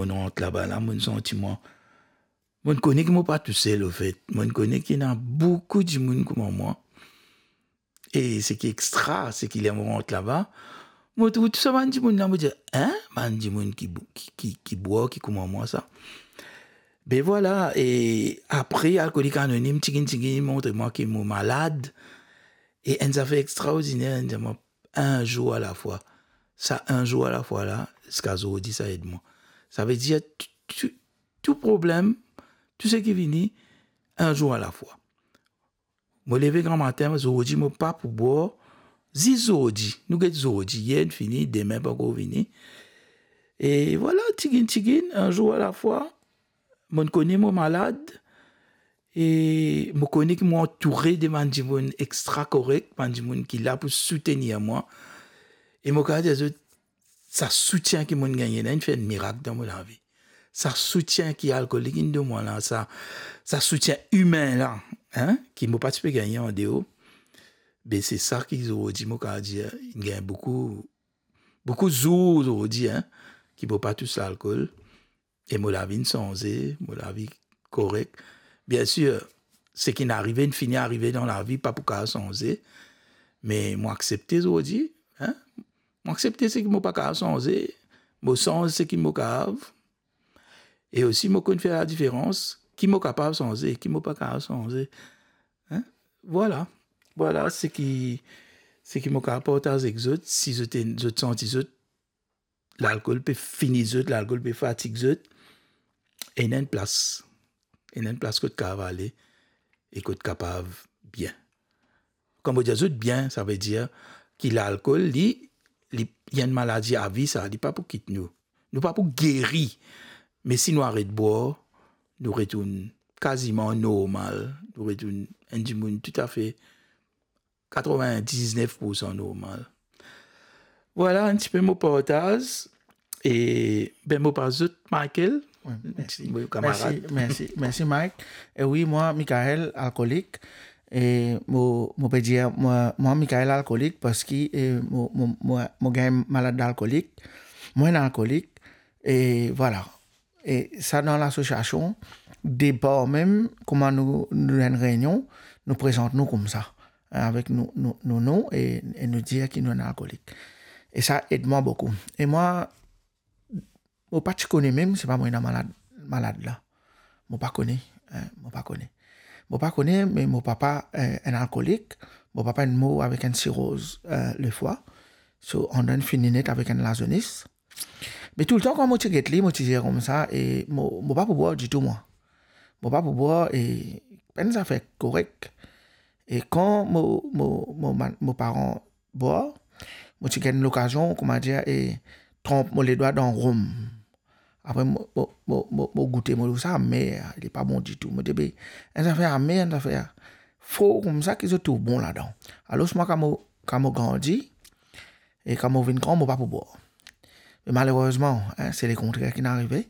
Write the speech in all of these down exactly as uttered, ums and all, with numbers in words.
Mo rant laba la, mo santi mwa, mo kone ki mo pa tousel, ofet. Mo kone ki ena boukou dimoun kouma mwa. E seki extra, seki ler mo rant laba, mo trouv tou sa bann dimoun la, mo dir, "Hein? Bann dimoun ki bou-, ki, ki, ki bwar, ki kouma mwa sa." Be vwala, e apre, Alkolik Anonim, tigit tigit, montre mwa ki mo malad. E enn zafer extraordiner, enn zafer, enn zour alafwa. Sa enn zour alafwa la, ziska zordi, sa ed mwa. Savedir, tou, tou, tou problem, tou seki vini, enn zour alafwa. Mo leve gramatin, zordi mo pa pou bwar, zis zordi. Nou get zordi, yer fini, dime pa ankor vini. E vwala, tigit tigit, enn zour alafwa. Mo kone mo malad, e mo kone ki mo antoure de bann dimoun extra korek, bann dimoun ki la pou soutenir mwa. E mo kapav dir zot, sa soutien ki mo gagne la, inn fer enn mirak dan mo lavi. Sa soutien ki Alkolik inn donn mwa la, sa, sa soutien imin la, hein, ki mo pa ti pe gagne andeor, be se sa ki zordi mo kapav dir, inn gagn boukou, boukou zour zordi, hein, ki mo pa tous lalkol. E mo lavi inn sanze, mo lavi korek. Biensir, seki inn arive, inn fini arive dan lavi, pa pou kapav sanze. Me mo aksepte zordi, hein? Mo aksepte seki mo pa kapav sanze, mo sanz seki mo kapav. E osi, mo konn fer ladiferans, ki mo kapav sanze, ki mo pa kapav sanze. Hein? Vwala. Vwala seki, seki mo kapav partaz ek zot, si zot, zot santi zot, lalkol pe fini zot, lalkol pe fatig zot, ena enn plas. Ena enn plas kot kapav ale e kot kapav bien. Kan mo dir zot bien, savedir ki lalkol, li, li, li enn maladi avi sa, li pa pou kit nou. Nou pa pou geri, me si nou aret bwar, nou retourn kaziman normal, nou retourn enn dimoun toutafe katrevin-diznef poursan normal. Vwala, enn tipe mo partaz. E, be, mo pas zot, Michael. Wi, mersi. Mo kamarad. Mersi, mersi, mersi, Mike. E wi, mwa, Michael, alkolik. E mo, mo pe dir, mwa, mwa, Michael, alkolik, parski, e, mo, mo, mo, mo gagn malad alkolik. Mo enn alkolik. E vwala. E sa dan lasosiasion, depar mem, kouma nou, nou enn reynion, nou prezant nou koumsa, hein, avek nou, nou, nou nom, e, e nou dir ki nou enn alkolik. E sa ed mwa boukou. E mwa, mo pa ti kone mem, se pa mwa ena malad, malad la. Mo pa kone, hein, mo pa kone. Mo pa kone, me mo papa, eh, enn alkolik. Mo papa inn mor avek enn siroz, eh, lefwa. So, anndan inn fini net avek enn lazonis. Me toultan kan mo ti get li, mo ti dir koumsa, e mo, mo pa pou bwar ditou, mwa. Mo pa pou bwar, e pa enn zafer korek. E kan mo, mo, mo, mo paran bwar, mo ti gagn lokazion, kouma dir, e tranp mo ledwa dan rom. Apre mo, mo, mo, mo, mo goute, mo trouv sa amer, li pa bon ditou. Mo dir, be, enn zafer amer, enn zafer for koumsa ki zot trouv bon ladan. Alor, mwa, kan mo, kan mo grandi, e kan mo vinn gran, mo pa pou bwar. Me malerezman, hein, se lekontrer ki'nn arive.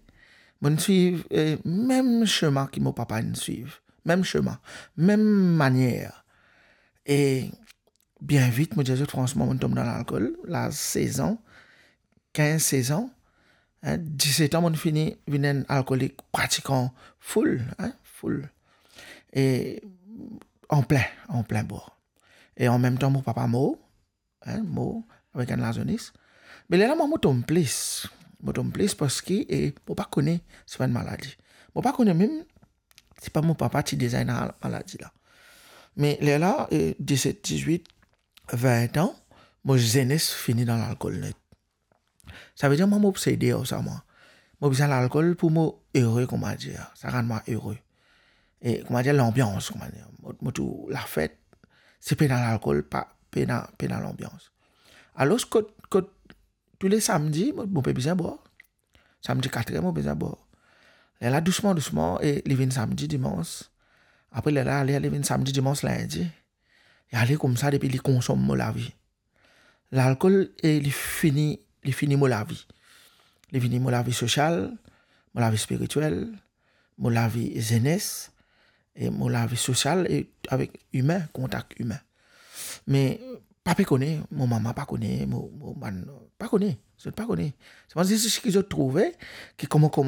Mo'nn swiv, eh, mem sema ki mo papa inn swiv. Mem sema, mem manier. E bien vit, mo dir zot fransman, mo'nn tom dan lalkol, laz sez an, kinz, sez an, hein, diset an, mo'nn fini vinn enn alkolik pratikan full, hein, full. E an plin, an plin bwar. E anmemtan, mo papa mor, hein, mor avek enn lazonis. Me lerla, mwa, mo tom plis. Mo tom plis parski, e, mo pa kone se pa enn maladi. Mo pa kone mem si pa mo papa ti deza ena maladi la. Me lerla, e, diset, dizwit, vin an, mo zenes fini dan lalkol net. Savedir, mwa, mo obsede ar sa, mwa. Mo bizin lalkol pou mo ere, kouma dir. Sa rann mwa ere. E, kouma dir, lanbians, kouma dir. Mo, mo trouv lafet, si pena lalkol, pa, pena, pena lanbians. Alor, kot, kot, toule samdi, mo, mo pe bizin bwar. Samdi kat er, mo bizin bwar. Lerla, dousman, dousman, e li vinn samdi, dimans. Apre, lerla, ale, ale, vinn samdi, dimans, lindi. E ale koumsa depi li konsom mo lavi. Lalkol, e li fini, li fini mo lavi. Li fini mo lavi sosial, mo lavi spiritiel, mo lavi zenes, e mo lavi sosial e avek imin, kontak imin. Me pa pe kone, mo mama pa kone, mo, mo bann, pa kone, zot pa kone. Se bann zis ki zot trouve, ki kouma, kouma